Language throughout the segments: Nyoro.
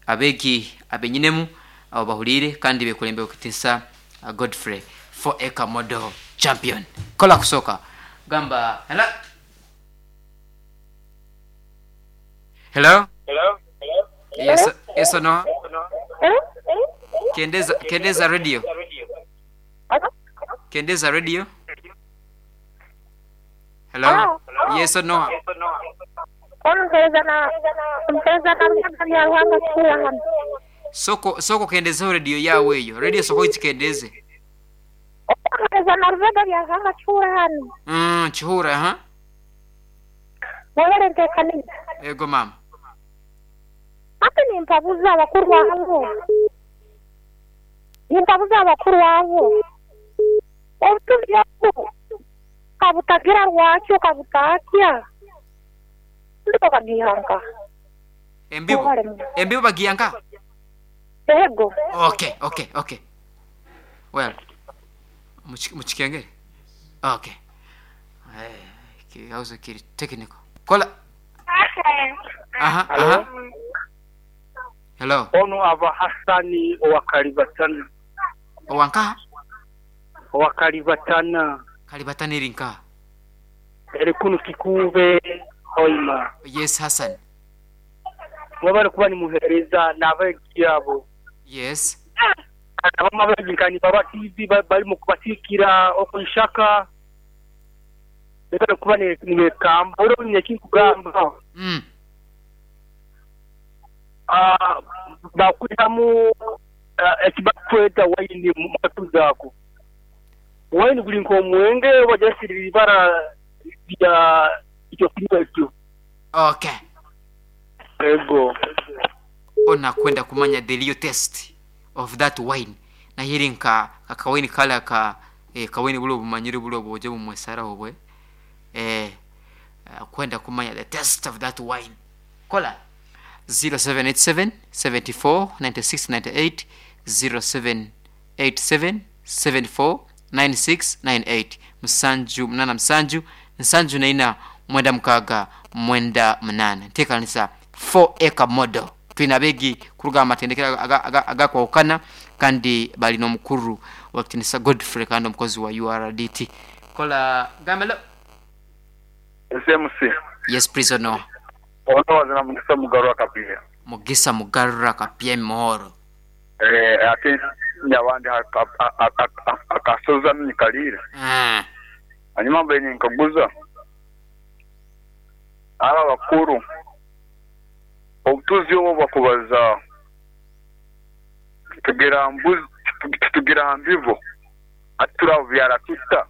Abeegi abenyinemu abo bahuliire kandi bekulembe kutinsa Godfrey 4 Acre Model Champion. Kola kusooka gamba hello. Hello. Yes, yes or no? Kendeza, kendeza radio. Kendeza radio. Hello. Yes or no? Omuheereza na omuheereza na Ruhanga bya Ruhanga kihura hano. Soko soko kendezeho radio yawe eyo. Radio soko ikikendeze. Omuheereza na Ruhanga bya Ruhanga kihura hano. Kihura ha? Mwebale nteekaniza. Ego mama. Hati nimpabuza abakuru abo. Nimpabuza abakuru abo. Obutuzi obu kabutagira rwakyo kabutatya. Ndiko kagihanka. Embibo. Mwebale muno. Embibo bagiyanka. Ego. Okay. Well, muchikengere. Okay. Hausa kiri technical. Kola. Aha, aha. Hello. Ono aba Hasani owa Kalibatana. Owanka? Owa Kalibatana. Kalibatana eri nka. Eri kunu Kikuube Hoima. Yes, Hassan. Mwebale kuba nimuheereza n'abeegi abo. Yes. Abamu abeegi nka nibaba TV barimu kubasiikira okwishaka. Mwebale kuba nibekamba. Oro nyine ekinkugamba. Bakwihamu ekibakweta waini mu matu zaako. Waini guli nk'omwenge bajasirira ibara lya ekyo kinywa ekyo. Okay. Ego. Ona kwenda kumanya the real taste of that wine. Nahiri nka kakawaini kala ka kawaini bulo bumanyire bulo boje bumwesara obwe. Kwenda kumanya the taste of that wine. Kola 0787 74 96 98, 0787 74 96 98, musanju munana musanju nsanju naina mwenda mukaaga mwenda munana. Nteekanisa 4 Acre Model. Tulina abeegi kuruga amatendekero agakwawukana kandi balina omukuru wa Kitinisa Godfrey kandi omukozi wa URDT. Kola gamelo. SMC. Yes, please no. Ono wazina Mugisa Mugarura Kapia. Mugisa Mugarura Kapia Muhoro. Ate nyawandi akasoza mnyikalira. Hanyuma mbe nkaguza aba bakuru obutuzi obwo bakubaza tugira mbuzi tugira mbibo aturabyara tuta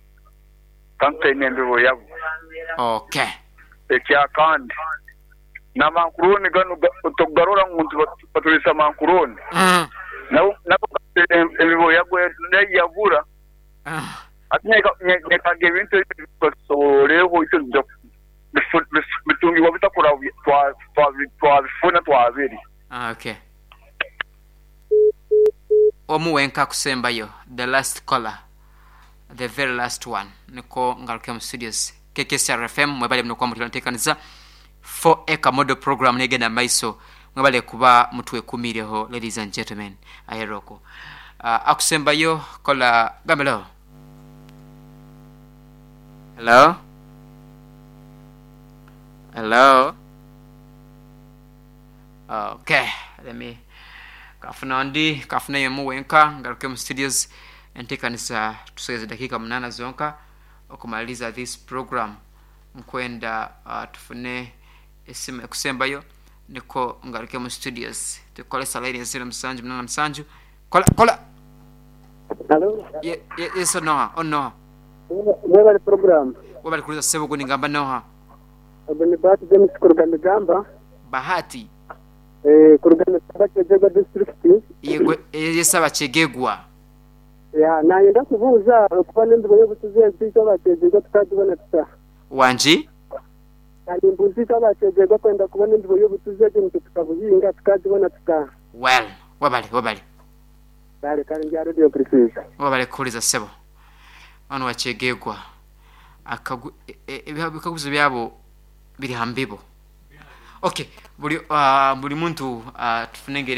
kandi nembibo yabo. Okay. Ekya kandi namankuruni gano tugarura ngu batulisa mankuruni. Nabo embibo yabo yabura. Ati nyeka ebintu bisoboleho icyo bitungibwa bitakura twabifuna twabiri. Okay. Omuwenka kusembayo the last caller, the very last one. Niko ngaruke mu studios KKCR FM mwebale muno kwa mutulateekaniza 4 Acre Model Program negenda maiso mwebale kuba mutwekumireho ladies and gentlemen aheroko. Akusembayo kola gamelo. Hello? Hello? Okay, let me kafuna ndi kafuna yemu wenka ngaruke mu studios entekanisa tusogeze dakika 8 zonka okumaliza this program nkwenda tufune esimu ekusembayo niko ngaruke mu studios tukolesa line ya 0787 kola kola. Hello. Yes Noah, oh Noah. Mwebale program. Webale kuliza sebo guni ngamba Noah. Ni Bahati James kuruga Migamba. Bahati. Kuruga Migamba Kyegegwa district. Yego yesaba Kyegegwa. Ya nayenda kubuuza okuba n'embibo y'obutuzi ezi abakyegegwa tukagibona tuta. Wangi? Mbuzi abakyegegwa kwenda kubona embibo y'obutuzi egi nitwe tukabuhinga tukagibona tuta. Well, webale webale. Kale kale ndya radio precise. Webale kuliza sebo. Ono wa Kyegegwa. Akagu ebikaguzo byabo biri hambibo. Okay, buli muntu tufunengere.